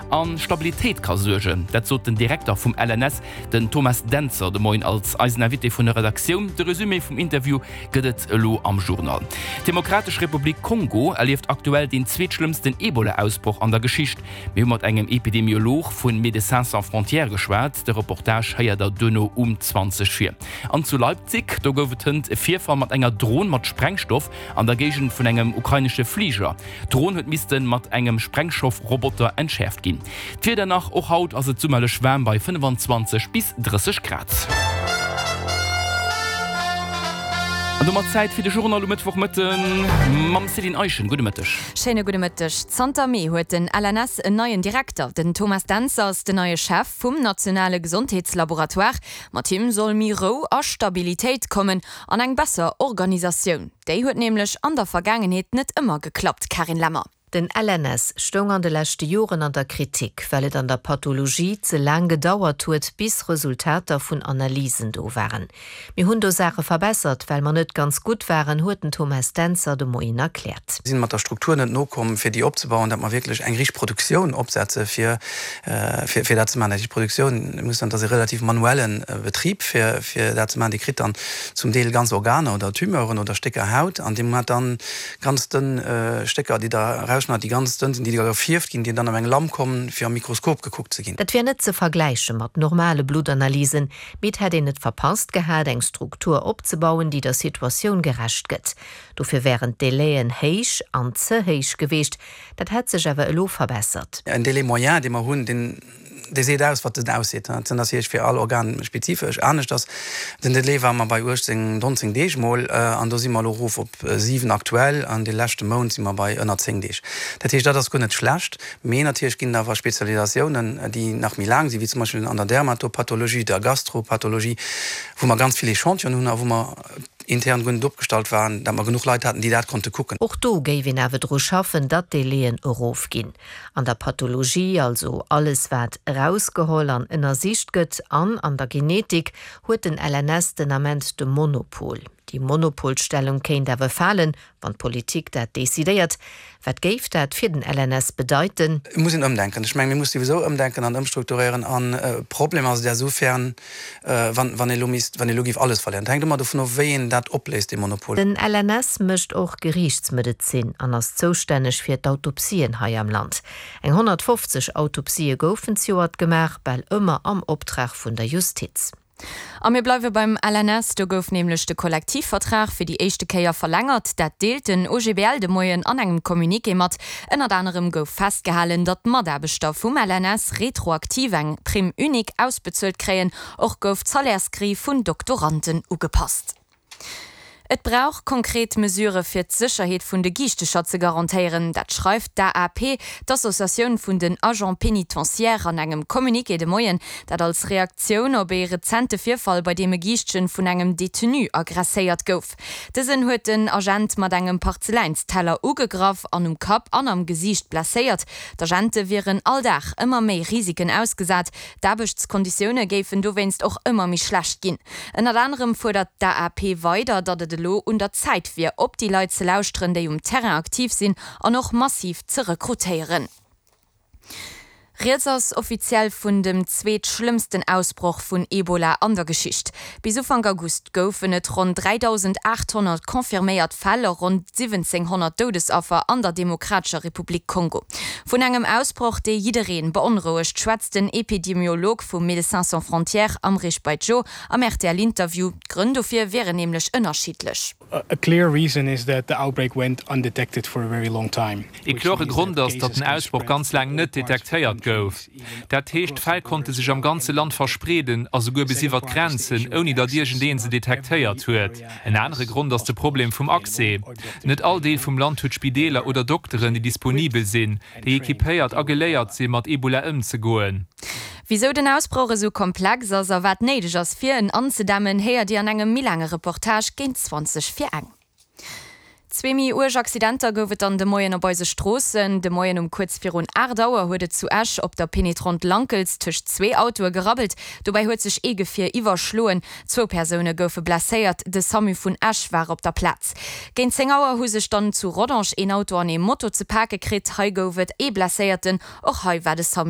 A Stabilitéit ka suergen. Dat sot den Direkter vum LNS, den Thomas Dentzer, de Moien als eisen Invité vun der Redaktioun. De Resumé vum Interview gëtt et elo am Journal. D'Demokratesch Republik Kongo erlieft aktuell deen zweetschlëmmsten Ebola-Ausbroch an der Geschicht. Mir hu mat engem Epidemiolog vu Médecins Sans Frontières geschwat. De Reportage héiert der duerno um 20 vir. An zu Leipzig, do gouf et hënt e Virfall mat enger Dron mat Sprengstoff an der Géigend vun engem ukrainesche Fliger. D'Dron huet misste mat engem Sprengstoff-Roboter entschäerft ginn. D'Wieder nach, Och haut ass et summerlech waarm bei 25 bis 30 Grad. An domat Zäit fir de Journal um Mëttwochmëtten mam Céline Eischen. Gudde Mëtteg. Schéine gudde Mëtteg. Zanter Mee huet den LNS en neien Direkter. Den Thomas Dentzer ass den neie Chef vum nationale Gesondheetslaboratoire. Mat him soll méi Rou a Stabilitéit kommen an eng besser Organisatioun. Déi huet nämlech an der Vergaangenheet net ëmmer geklappt, Carine Lemmer. Den LNS stoung an de leschte Joren an der Kritik, well et an der Pathologie ze laang gedauert huet, bis Resultater vun Analysen do waren. Mir hunn do Saache verbessert, well mer net ganz gutt waren, huet den Thomas Dentzer de Moien erkläert. Sinn mat der Struktur net nokomm, fir déi opzebauen, datt mer wierklech eng richteg Produktioun opsetze fir fir dat ze maachen. Dat heescht, d'Produktioun muss dann, dat ass e relativ manuelle Betrib fir fir dat ze maachen, Dir kritt dann zum Deel ganz Organer oder Tumeuren oder Stécker Haut an Dir hat dann ganz dënn Stécker, déi Der erausschneit, déi ganz dënn sinn, déi da gefierft ginn, déi dann op eng Lam kommen, fir am Mikroskop gekuckt ze ginn. Dat wär net ze vergläiche mat normale Bluttanalysen, mee et hätt een et verpasst gehat, eng Struktur opzebauen, déi der Situatioun gerecht gëtt. Dofir wären d'Délaien héich an ze héich geweecht. Dat hätt sech awer elo verbessert. En Délai moyen, dee mer hunn, deen dee seet aus, wat en ausseet. Dat ass natierlech fir all Organ spezifesch aneschters. Den Délai war mer bei 18, 19 Deeg mol, an do si mer elo erof op 7 aktuell, an de leschte Mount si mer bei ënner 10 Deeg. Dat heescht, dat ass guer net schlecht. Mee natierlech ginn et awer Spezialisatiounen, déi nach méi laang sinn, wéi zum Beispill an der Dermatopathologie, der Gastropathologie, wou mer ganz vill Echantillonen hunn a wou mer intern guer net opgestallt waren, dat mer genuch Leit haten, déi dat konnte kucken. Och do géif een awer dru schaffen, datt d'Délaien erofginn. An der Pathologie, also alles wat erausgeholl an ënnersicht gëtt, an an der Genetik huet den LNS den Ament de Monopol. Déi Monopolstellung kéint awer falen, wann d'Politik dat decidéiert. Wat géif dat fir den LNS bedeiten? Et muss een ëmdenken. Ech mengen, mir musse souwisou ëmdenken an ëmstrukturéieren. An e Problem ass et esoufern, wann, wann ee lo misst, wann ee lo géif alles verléieren. Et hänkt ëmmer dovun of, wéi een dat opléist, dee Monopol. Den LNS mécht och Geriichtsmedezin an ass zoustänneg fir d'Autopsien hei am Land. Eng 150 Autopsië goufen zejoert gemaach, bal ëmmer am Optrag vun der Justiz. A mir bleiwe beim LNS. Do gouf nämlech de Kollektivvertrag fir déi éischte Kéier verlängert. Dat deelt den OGBL de Moien an engem Communiqué mat. Ënnert anerem gouf festgehalen, datt d'Mataarbechter vum LNS retroaktiv eng Prime unique ausbezuelt kréien. Och gouf d'Salairsgrille vun Doktoranden ugepasst. Et brauch konkret Mesurë fir d'Sécherheet vun de Giichtecher ze garantéieren. Dat schreift d'AAP, d'Associatioun vun den Agents pénitentiaires, an engem Communiqué de Moien. Dat als Reaktioun op ee rezente Virfall, bei deem e Giischtchen vun engem Detenu agresséiert gouf. Dësen huet den Agent mat engem Parzeläinsteller ugegraff an um Kapp an am Gesiicht blesséiert. D'Agente wieren all Dag ëmmer méi Risiken ausgesat. D'Aarbechtskonditioune géifen dowéinst och ëmmer méi schlecht ginn. Ënnert anerem fuerdert d'AAP weider, datt et elo un der Zäit wier, op déi Leit ze lauschteren, déi um Terrain aktiv sinn an och massiv ze rekrutéieren. Rieds ass offiziell vun dem zweetschlëmmsten Ausbroch vun Ebola an der Geschicht. Bis Ufank August goufen et ronn 3.800 confirméiert Fäll a ronn 1.700 Doudesaffer an der Demokratescher Republik Kongo. Vun engem Ausbroch, dee jidderee beonrouegt, schwätzt den Epidemiolog vu Médecins Sans Frontières, Amrich Baidjo, am RTL-Interview. D'Grënn dofir wieren nämlech ënnerschiddlech. Ee klore Grond ass, datt den Ausbroch ganz laang net detektéiert gouf. Dat heescht, d'Fäll konnte sech am ganze Land verspreeden a souguer bis iwwer d'Grenzen, ouni datt iergendee se detektéiert huet. En anere Grond ass de Problem vum Accès. Net all Deel vum Land huet Spideeler oder Dokteren, déi disponibel sinn, déi equipéiert a geléiert sinn, mat Ebola ëmzegoen. Wisou den Ausbroch esou komplex ass a wat néideg ass, fir en anzedämmen, héiert Dir an engem méi laange Reportage géint 20 vir eng. Zwee méi uerg Accidenter gouf et dann de Moien op eise Stroossen. De Moien um kuerz virun 8 Auer huet et zu Esch op der Penetrante Lankels tëscht zwee Autoe gerabbelt. Dobäi huet sech ee Gefier iwwerschloen. Zwou Persoune goufe blesséiert, de Samu vun Esch war op der Plaz. Géint 10 Auer hu sech dann zu Rodange een Auto an ee Moto ze pake kritt. Hei gouf et ee Blesséierten, och hei war de Samu.